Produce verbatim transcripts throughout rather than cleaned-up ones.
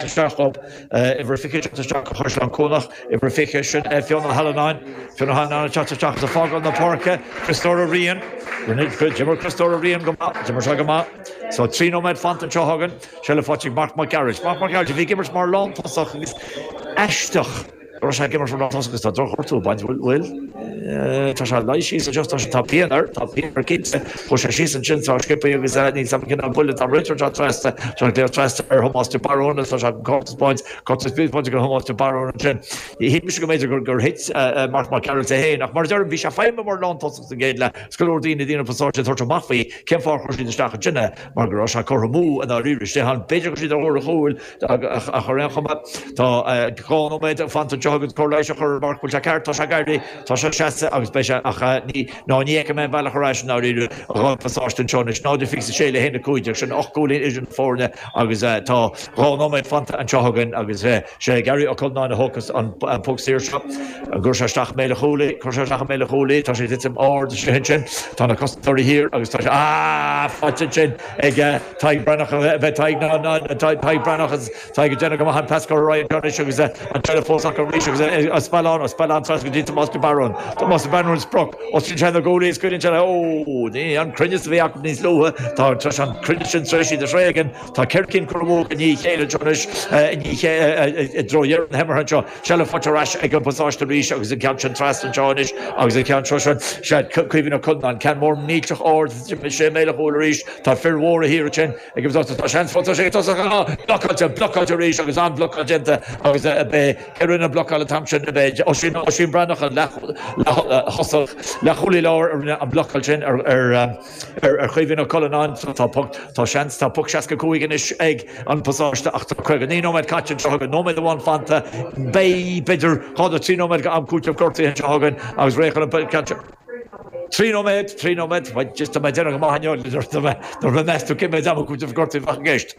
Isteach uimhir fiche isteach Chaisleán Cuanach, uimhir fiche sin Fionn Ó hAllanáin, Fionn Ó hAllanáin ag teacht isteach is ag fágáil na páirce, Criostóir Ó Riain, d'imir Criostóir Ó Riain go maith, d'imir sé go maith. So trí nóiméad fanta anseo againn, seilbh faighte ag Marc Mac Gearailt. Marc Mac Gearailt a bhí ag imirt mar lántosach agus aisteach go raibh sé ag imirt mar lántosach agus tá drochghortú ag baint, bhfuil? Tá sé luí síos anseo, tá sé, tá pian air, tá pian air cinnte. Chuaigh sé síos ansin tá sciobtha agus níl 's agam cén buille tá réiteoir anseo trasna, tá glaoch trasna ar Thomás de Barún agus tá sé cárta spáint, cárta spáint go Thomás de Barún ansin. Shíl mise go mb'fhéidir gur gur thit Marc Mac Gearailt é féin ach mar a deirim bhí sé feidhmithe mar lántosach sa gcéad leath is go leor daoine daoine pasáiste ag tabhairt amach faoi cén fáth ar chuir siad isteach ansin é mar go raibh sé curtha amú i ndáiríre istigh ann. B'fhéidir go raibh siad ar thóir an chúil ach ar aon chuma tá dhá nóiméad fanta anseo agus cóir leighis a chur ar Marc bhfuil sé ceart, tá sé ag éirí, tá sé seasta agus beidh sé ach ní ná ní fheicim aon bhealach ar ais i ndáiríre dhá phasáiste anseo anois, náid a fiche a sé le haon a cúig déag, sin ocht gcúilín idir na foirne agus tá dhá nóiméad fanta anseo againn agus sé Gary Ó Cuilleanáin a thógfas an poc saor seo. An gcuirfidh sé isteach i mbéal an chúil í? Cuirfidh sé isteach i mbéal an chúil í. Tá sé ag titim ard istigh ansin. Tá na cosantóirí thiar agus tá sé, ah! faighte ansin ag Tadhg Breathnach, a bheith Tadhg ná ná Tadhg Breathnach agus Tadhg ag déanamh go maith an pas curtha ar aghaidh anseo anois agus an tseilbh fós acu arís agus Ó Spealáin, Ó Spealáin trasna go dtí Tomás de Barún. Tomás de Barún sprioc os cionn sé na guaillí is cuireann sé ó ní an cruinneas a bhí acu níos luaithe. Tá an cruinneas sin tar éis iad a thréigean. Tá ceithre cinn curtha amú i ndiaidh a chéile anseo anois i dtreo dheireadh na himeartha anseo. Seilbh faighte ar ais ag an bpasáiste arís agus an ceann sin trasna anseo anois agus an ceann seo sin, sea, Caoimhín Ó Cuilleanáin, ceann mór millteach ard, sé i mbéal an chúil arís. Tá fir mhóra thiar ansin ag an bpasáiste. Tá seans fós, tá sé ag tosach, ah, blocáilte, blocáilte arís agus an-bhlocáil déanta agus b'é cé rinne an bhlocáil an t-am sin, b'é Oisín, Oisín Breathnach an leath-thosach, leathchúlaí láir a rinne an bhlocáil sin ar, ar, ar Chaoimhín Ó Cuilleanáin. Tá poc, tá seans, tá poc seasca cúig anois ag an bpasáiste ach tá caoga naoi nóiméad caite anseo againn, nóiméad amháin fanta. Beidh, b'fhéidir, dhá nó trí nóiméad go am cúitimh gortaithe anseo againn agus réidh chun an ceann seo. Trí nóiméad, trí nóiméad, bhuel, just tá mé ag déanamh go maith inniu, nuair a mheas tú cé mhéad ama cúitimh gortaithe a bheadh i gceist.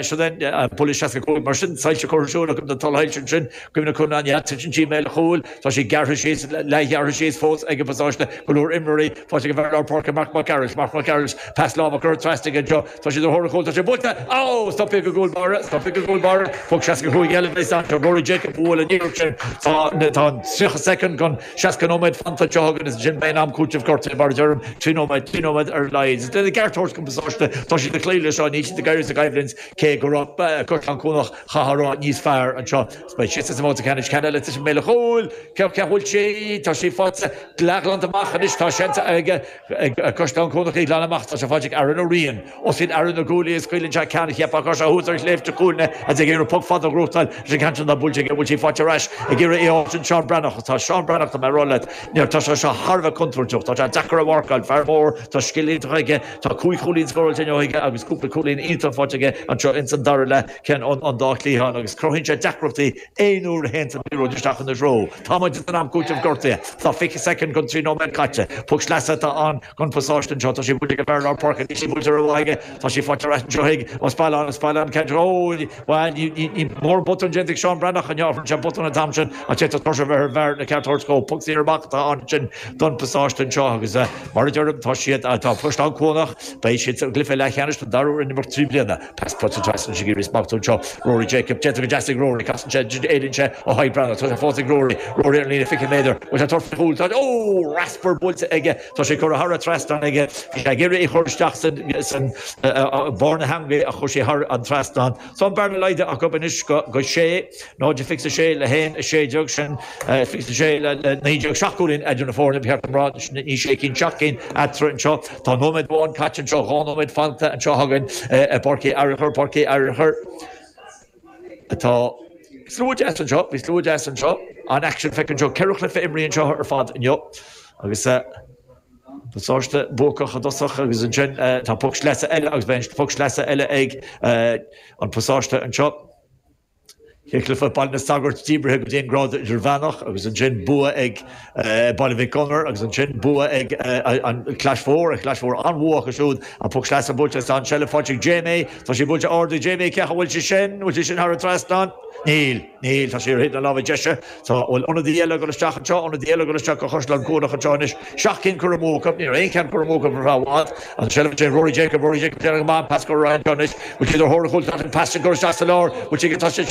Seo é, buille seasca cúig, mar sin, soilse curtha ar siúl acu na tulshoilse ansin, Caoimhín Ó Cuilleanáin, yeah, titeann sí i mbéal an chúil, tá sí gearrtha síos, leathghearrtha síos fós ag an bpasáiste, go leor imreoirí faighte ag an bhfear lár páirce Marc Mac Gearailt, Marc Mac Gearailt, pas láimhe curtha trasna aige anseo, tá siad ar thóir an chúil, tá sé buailte! Ó! Stoptha ag an gcúl báire, stoptha ag an gcúl báire, poc seasca cúig eile a bheas anseo, Rory Jacob a bhuail an iarracht sin, tá tá tríocha soicind gon seasca nóiméad fanta anseo againn is ansin beidh an am cúitimh gortaithe mar a deirim, trí nóiméad, trí nóiméad ar a laghad. Is lena gceart a thabhairt don bpasáiste, tá siad ag cloí leis seo, níl siad ag éirí as an gcoimhlint cé go raibh Caisleán Cuanach chaithfeá a rá níos fearr anseo. Beidh siad sa mbabhta ceannais ceann eile ag titim i mbéal an chúil. Cé bhfuil sí? Tá sí faighte leathghlanta amach anois. Tá seans ag Caisleán Cuanach í a ghlanadh amach. Tá sé faighte ag Aaron Ó Riain. Os cionn Aaron na guaillí is scaoileann sé ceann a cheapfá go raibh sé thuas ar shléibhte Chuailgne agus ag iarraidh poc fada a ghnóthachtáil leis an gceann sin atá buailte aige. Bhfuil sí faighte ar ais ag iarraidh í a fháil sin Seán Breathnach. Tá Seán Breathnach, tá mé ag rá leat, tá sé seo thar a bheith contúirteach. Tá sé deacair a mharcáil. Fear mór, tá scil iontach aige. Tá cúig chúilín scóráilte inniu aige agus cúpla cúilín iontach faighte aige anseo ins an dara leath. Ceann an dá chliathán agus cruthaíonn sé deacrachtaí aon uair a théann an liathróid isteach ina threo. Tá muid san am cúitimh gortaithe. Tá fiche soicind gon trí nóiméad caite. Poc sleasa atá ann gon phasáiste anseo. Tá sí buailte ag an bhfear lár páirce. Níl sí buailte rómhaith aige. Tá sí faighte ar ais anseo ag Ó Spealáin. Ó Spealáin ceann Ó bhuel ní ní mór botún déanta ag Seán Breathnach inniu. Rinne sé botún an t-am sin ach d'fhéadfadh tuirse a bheith ar an bhfear na ceart a thabhairt dhó. Poc saor amach atá ann ansin don bpasáiste anseo agus mar a deirim tá siad tá Caisleán Cuanach beidh siad sa gcluiche leathcheannais don dara huair in imeacht trí bliana. Pas buailte trasna ag iarraidh smachtú anseo. Rory Jacob déanta go deas ag Rory. Casann sé, éalaíonn sé ó Thadhg Breathnach. Tá sé fós ag Rory. Rory ar an líne fiche méadar. Bhfuil sé ag tabhairt faoin chúl? Tá. Ó! Raspar buailte aige. Tá sé curtha thar an trasnán aige. Bhí sé ag iarraidh í a chur isteach san san barr na heangaí ach chuaigh sé thar an trasnán. Tá an bearna laghdaithe acu anois go go sé, náid a fiche a sé le haon a sé déag. Sin fiche a sé le naoi déag. Seacht gcúilín idir na foirne, ba cheart dom rá. Ní sé cinn, seacht gcinn eatarthu anseo. Tá nóiméad amháin caite anseo, dhá nóiméad fanta anseo againn i bPáirc Uí Fhearchair, Páirc Uí Fhearchair. Tá slua deas anseo, bhí slua deas anseo, an-aicsean feicthe anseo, ceithre chluiche imrithe anseo ar fad inniu agus pasáiste buacach i dtosach agus ansin tá poc sleasa eile agus beidh an poc sleasa eile ag an pasáiste anseo. Cluiche Baile na Sagart díbrithe go dtí an grád idirmheánach agus ansin bua ag eh, Baile Mhic Gonair agus ansin bua ag eh, an Clais Mhór, an Clais Mhór an-bhua acu siúd an poc sleasa buailte an seilbh faighte ag Jamie, Tá sé buailte ard ag Jamie cecha bhfuil sé sin, bhfuil sé sin thar an trasnán? Níl, níl tá sé ar na lámha deise Tá bhfuil ionadaí eile ag dul isteach anseo ionadaí eile ag dul isteach go Chaisleán Cuanach anseo anois seacht gcinn curtha amú acu ní aon cheann curtha amú acu ar an seilbh sé Rory Jacob Rory Jacob déanamh pas go Ryan anois bhfuil siad ar thóir an chúil pas go isteach sa lár bhfuil sé tá sé